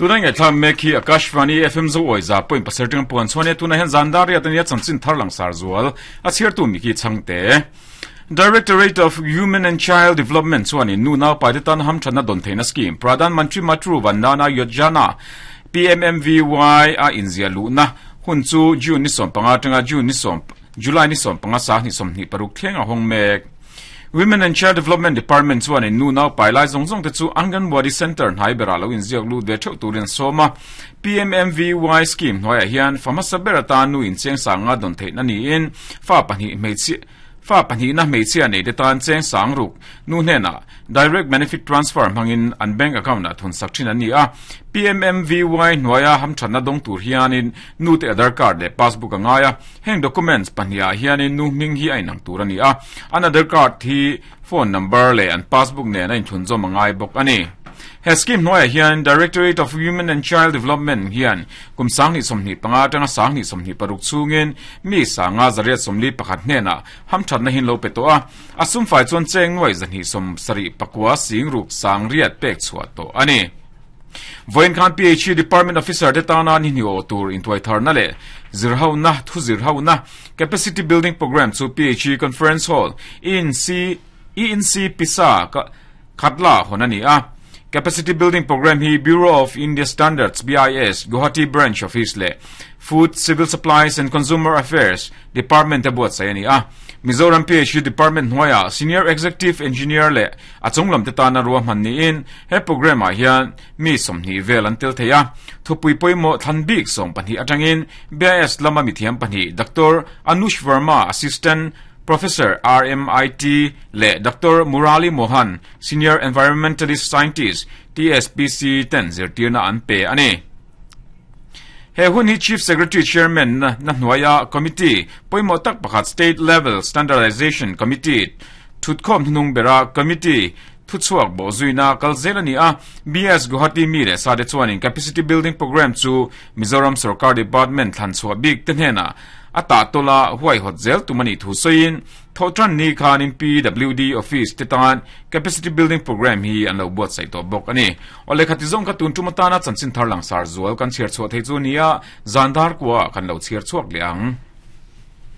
Tuna ngaihthlak mek hi Akashvani FM Zoawi za point pasarih atanga puan chhuan nia tunah hian zan dar riat ania chanchin thar langsar zual a chhiartu Mickey Chhangte. Directorate of Human and Child Development chuanin nu naupaite tan hamthatna dawn theihna scheme Pradhan Mantri Matru Vandana Yojana, PMMVY, a inziah luhna hun chu June ni 15 atanga June ni July ni 15 sang 26 thleng a hawng mek. Women and Child Development Department chuanin nu naupai lai zawng zawng te chu Anganwadi Centre hnai berah lo inziak lut ve theuh turin an sawm a. PMMVY scheme hnuaiah hian fa hmasa ber atan nu incheng sanga dawn theihna niin fa pahnih hmeichhia Fa pahnihna hmeichhia neite tan cheng sang ruk nu hnenah Direct Benefit Transfer hmangin an bank account ah thun sak thin an ni a. PMMVY hnuaia hamthatna dawng tur hianin nute Aadhar card leh passbook a ngai a. Heng documents pahnihah hianin nu hming hi a inang tur a ni a. An Aadhar card hi phone number leh an passbook nen a inthunzawm a ngai bawk a ni. He scheme hnuaiah hian Directorate of Women and Child Development hian kum 2025 atanga 2026 chhungin mi sanga zariat sawmli pakhat hnenah hamthatna hin lo pe tawh a, a sumfai chuan cheng nuai zahnih sawm sarih pakua sing ruk sang riat pek chhuah tawh a ni. Vawiin khan PHE Department Officer te tana ni hnih awh tur intuaitharna leh zirhona thu zirhona Capacity Building Programme chu PHE Conference Hall, ENC, ENC Pisa, Khatla hawn a ni a. Capacity Building Programme hi Bureau of India Standards, BIS, Guwahati Branch Office leh Food, Civil Supplies and Consumer Affairs Department te buatsaih a ni a. Mizoram PHU Department hnuaiah Senior Executive Engineer leh a chunglam te tana ruahman niin he programme ah hian mi 20 vel an tel thei a. Thupui pawimawh thlan bik 12 atangin BIS lama mithiam pahnih Doctor Anush Verma, Assistant Professor RMIT leh Doctor Murali Mohan, Senior Environmentalist Scientist, TSPC ten zirtirna an pe a ni. He hun hi Chief Secretary Chairman na hnuaia Committee pawimawh tak pakhat State Level Standardization Committee thutkhawm hnuhnung bera Committee thuchhuak bawhzuina kal zel a ni a. BS Guwahati mi leh sate chuanin Capacity Building Programme chu Mizoram Sorkar Department thlanchhuah bik te hnenah A tahtawla huaihawt zel tum a nih thu sawiin, Thawhtan ni khanin PWD Office te tan Capacity Building Programme hi an lo buatsaih tawh bawk a ni. Aw lehkha ti zawng kha tun tum atana chanchin thar langsar zual kan chhiar chhuah thei chu nia, zan dar kuaah kan lo chhiar chhuak leh ang.